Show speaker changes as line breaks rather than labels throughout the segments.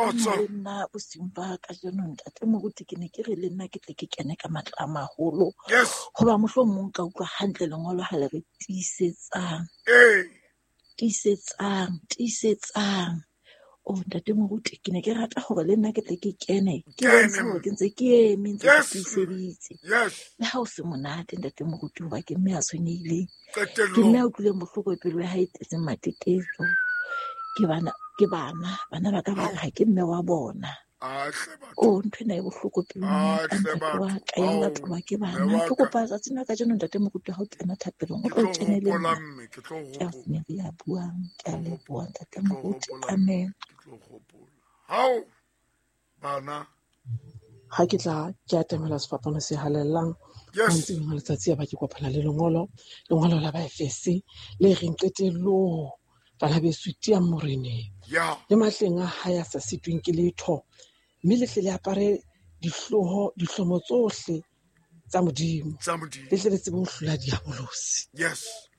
Kgotso.
Le nna bosiung ba kajeno ntate moruti ke ne ke re le nna ke tle ke kene ka matla a maholo.
Yes.
Hoba mohlomong ka utlwa hantle lengolo ha le re tiisetsang.
Ee.
Tiisetsang, tiisetsang. Oh ntate moruti ke ne ke rata hore le nna ke tle ke kene. Ke
Kene.
bontshe hore ke ntse ke eme ntse ke
Yes.
tiiseditse.
Yes.
Le ha o se monate ntate moruti hoba ke mme a tshwenyehileng. Ke mme
Qetellong.
a utlwileng bohloko pelo ya hae e tletseng matetetso. Ke bana ke bana, bana ba ka ba re ha ke mme wa bona.
Ahle batho.
Oh ntho ena e bohloko pelong ya ka
Ahle
ntate wa
batho.
ka ya
Ao,
latolwa ke
mme
bana.
wa
Ke
ka.
kopa tsatsing la kajeno ntate moruti ha o kena thapelong o
Ke
tlo
tlo
kene le
hopola
nna.
mme, ke tlo
Ke a
hopola.
Rosemary ya buang. Ke a
Ke tlo
leboha
hopola.
ntate
Ke tlo
moruti.
hopola mme.
Amen.
Ke tlo hopola. Hao bana.
Ha ke tla ke atamela sefapano se halalelang
Yes.
mantsibuyeng a letsatsi ya ba ke kopana le lengolo, lengolo la Baefese le reng qetellong bana beso tiyang moreneng
Ya.
le matleng a hae a sa sitweng ke letho, mme le tle le apare dihlooho dihlomo tsohle tsa Modimo,
Tsa Modimo.
le tle le tsebe ho hlola diabolosi.
Yes.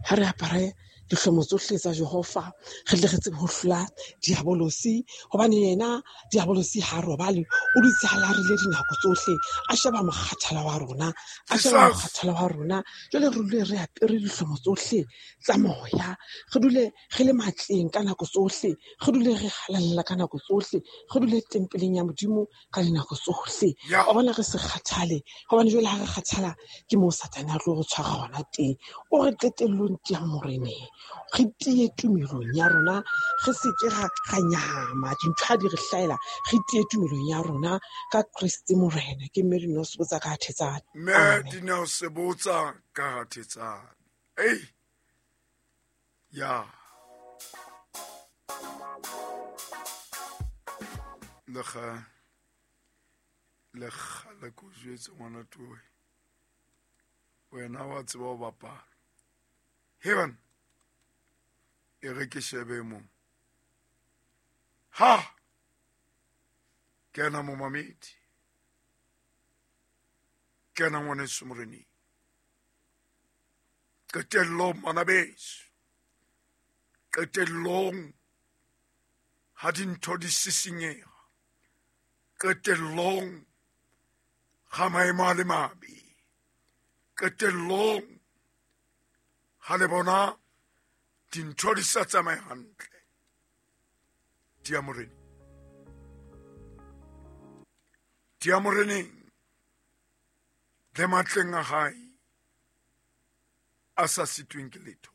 Ha re apare dihlomo tsohle tsa Jehova, re tle re tsebe ho hlola diabolosi, hobane yena diabolosi ha a robale, o dutse a larile dinako tsohle, a sheba mokgathala wa rona, a sheba
Jesus.
mokgathala wa rona. Jwale re dule re apere dihlomo tsohle tsa moya, re dule re le matleng ka nako tsohle, re dule re halalela ka nako tsohle, re dule tempeleng ya Modimo ka dinako tsohle.
Ya.
Wa bona re se kgathale, hobane jwale ha re kgathala ke moo Satane a tlo re tshwara hona teng. O re qetellong tiyang moreneng, re tiye tumelong ya rona, re se ke ra nyahama dintho ha di re hlahela, re tiye tumelong ya rona ka Kreste Morena. Ke mme Dineo Sebotsa ka Thetsane.
Mme
Amen.
Dineo Sebotsa ka Thetsane. Ei. Ya. Le ga le kgale ko jwetse ngwana towe. Wena wa tseba ho bapala. Heaven. E re ke shebe mo. Ha. Kena momamedi. Kena ngwaneso moreneng. Qetellong bana beso. Qetellong ha dintho di sisinyeha. Qetellong ha maemo a le mabe. Qetellong ha le bona dintho di sa tsamaye hantle. Tiya moreneng. Tiya moreneng. Le matleng a hae a sa sitweng ke letho.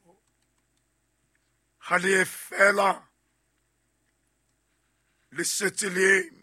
Ha le ye fela le setse le eme.